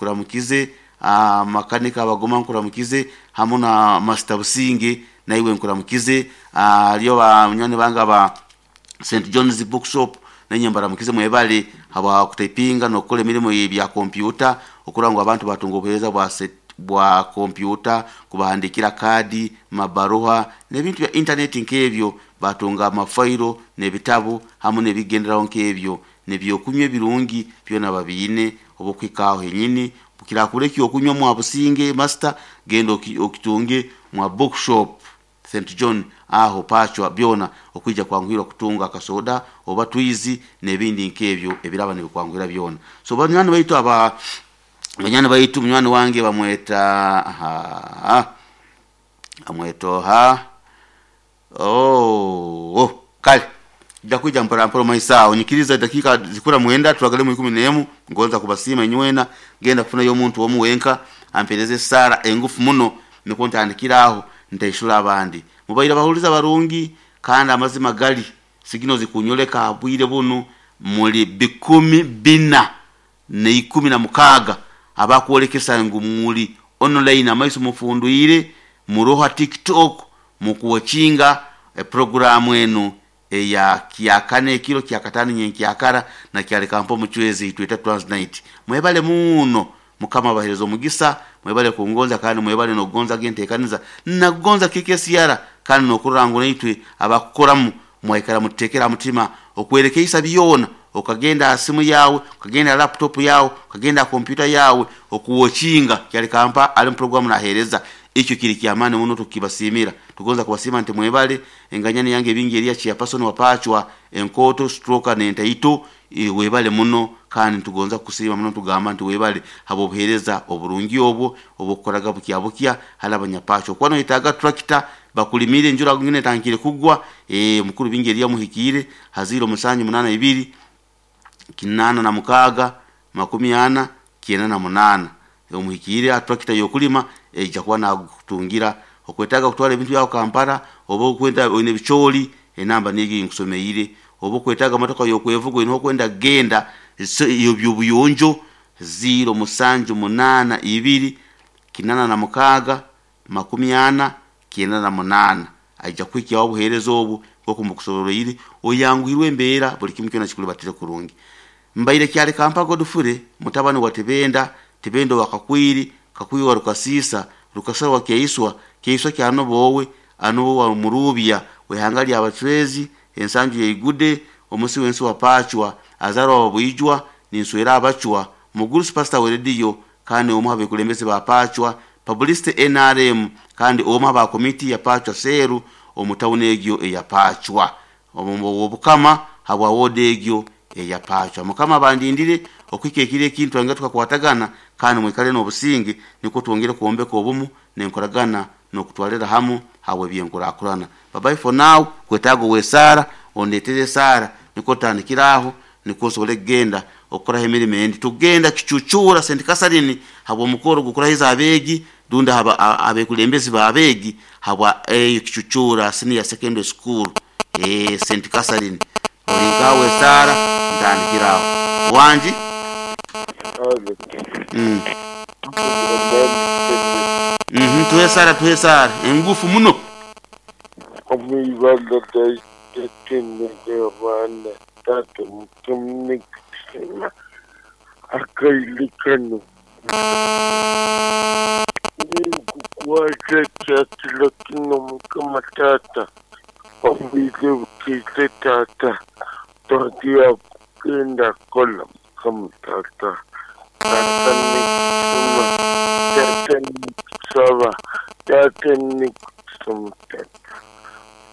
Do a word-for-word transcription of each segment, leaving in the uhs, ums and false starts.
Nkuramukize ah, makanika abagoma, nkuramukize hamu na Master Businge, naiwe nkuramukize. Haliyo banywani bange aba Saint John's Bookshop, nenye mbaramukize, mwebale habwa kutaipinga n'okukola emirimu ebya kompyuta, okurora ngu abantu batunga obuheereza bwa set bwa kompyuta, kubahandikira kadi, mabaruha n'ebintu bya intaneti nk'ebyo, batunga amafairo n'ebitabu hamu n'ebigenderaho nk'ebyo, n'ebyokunywa ebirungi byona babiine. Obukwikaaho henyini kirakura ekyokunywa mwa Businge Master, genda okitunge mwa Bookshop Saint John aho pachwa byona, okwija kwanguhirwa kutunga akasoda oba twizi n'ebindi nk'ebyo ebiraba nibikwanguhira byona. So banywani baitu, aba banywani baitu, munywani wange bamweta aha, amweta oha, oh, oh, kale nja kwija mpora mpora maiso aho. Nyikiriza dakika zikura mwenda turagale mu ikumi n'emu. Ngonza kubasiima inywena, genda kufunayo omuntu omu wenka ampereze sara engufu muno, nikwo ntandikira aho ntaishura abandi. Mubaire abahuliza barungi, kandi amazima gali sigino zikunyoleka bwire bunu muli bikumi bina n'ikumi na mukaaga abakwolekesa ngu muli online, amaiso mufundwire muroha TikTok mukuwachinga programu enu eya kyakane ekiro kyakatano nyenkyakara na kyalekampa omucwezi itweta Transnight. Mwebale muno, Mukama abahereza omugisa, mwebale kungonza kandi mwebale n'okugonza genteekaniza nakugonza K K C R, kandi n'okurora ngu naitwe abakukoramu mwaikara mututeekera mutima okwerekeisa byona. Okagenda aha simu yawe, okagenda laptop yawe, okagenda kompyuta yawe, okuwokinga kyalikampa ali mu programu nahereza, ekyo kiri kyamaani muno, tukibasiimira. Tugonza kubasiima nti mwebale. Enganyani yange ebingi eriya chairperson wapachwa enkoto stroke nentaito, webale muno, kandi nitugonza kukusiima muno, tugamba nti webale habw'obuheereza oburungi obwo obukukoraga bukya bukya hali abanyapachwa. Okuba noyetaaga tractor bakulimire enjura ngine etandikire kugwa, eh, mukuru bingi eriya muhikiire haziiro musanju munana ibiri kinana na mukaaga makumi ana kyenda na munaana, omuhikiire tractor y'okulima ejja kuba nakutungira. Okwetaaga kutwara ebintu byawe Kampala, oba okwenda oine ebicooli, enamba niyo nkusomeire. Oba okwetaaga motoka y'okwevuga, oine okwenda kugenda ebyobuyonjo, ziro musanju munana ibiri kinana na mukaaga makumi ana kyenda na munaana, aija kuhikyaho obuheereza obu nk'oku mbukusoboroire, oyanguhirwe embeera, buli kimu kyona kikulibatire kurungi. Mbaire Kyalikampa Godfrey, mutabani wa Tibenda, Tibenda wa Kakwiri, Kakwiri wa Rukasiisa, Rukasara wa Kyeiswa, Kyeiswa kyanobowe anobo wa Murubya wehanga lya Abacwezi, ensanju yeigude omusi w'ensi wa Pachwa, azarwa wa Bwijwa ninswera Abachwa, mugurusi pastor wa rediyo kandi omu abekulembeze ba Pachwa, publicity N R M, kandi omu aba komiti ya Pachwa Seru omu tawuni egyo eya Pachwa, obukama habwa wodi egyo eya Pachwa. Mukama bandindire okuhika ekiro ekintu twangire tukakwatagana, kandi mwikale n'obusinge, nikwo twongere kwombeka obumu n'enkoragana n'okutwalira hamu habwe ebyenkurakurana. Bye bye for now. Kwetaaga ow'esaara, ondeetere esaara, nikwo tutandikire aho, nikwo nsobole kugenda okukoraho emirimo endi. Tugenda Kicucura Saint Catherine habw'omukoro gw'okurahiza abeegi rundi abekulembezi b'abeegi habwa eyo Kicucura Senior Secondary School, eh, Saint Catherine. Olinkaho esaara, ntandikire aho wangi. mm. mm -hmm. Tuhe esaara, tuhe esaara engufu muno. Omwibanda abaana taata mutumunekisema akailikano nikukwata kyakiro kino. Mukama taata, obwire bukiise taata, twagiya kugenda kola. Mukama taata, taata nikusima, taata nikusaba, taata nikusoma, taata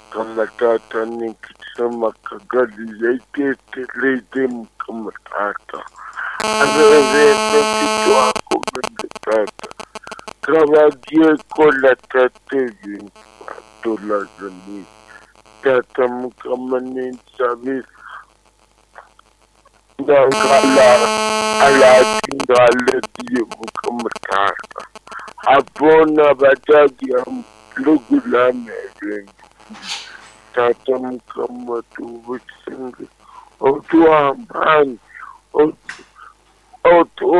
mukama taata nikusoma kagali yaiteetereze. Mukama taata, abeebembezi taata kabagiye kola taata ebintu batolazani taata. Mukama ninsabira ngakala alatingalebiye. Mukama taata, abona bajagia pulogulamu ebintu taata. Mukama tubusinge otuwa amaani otu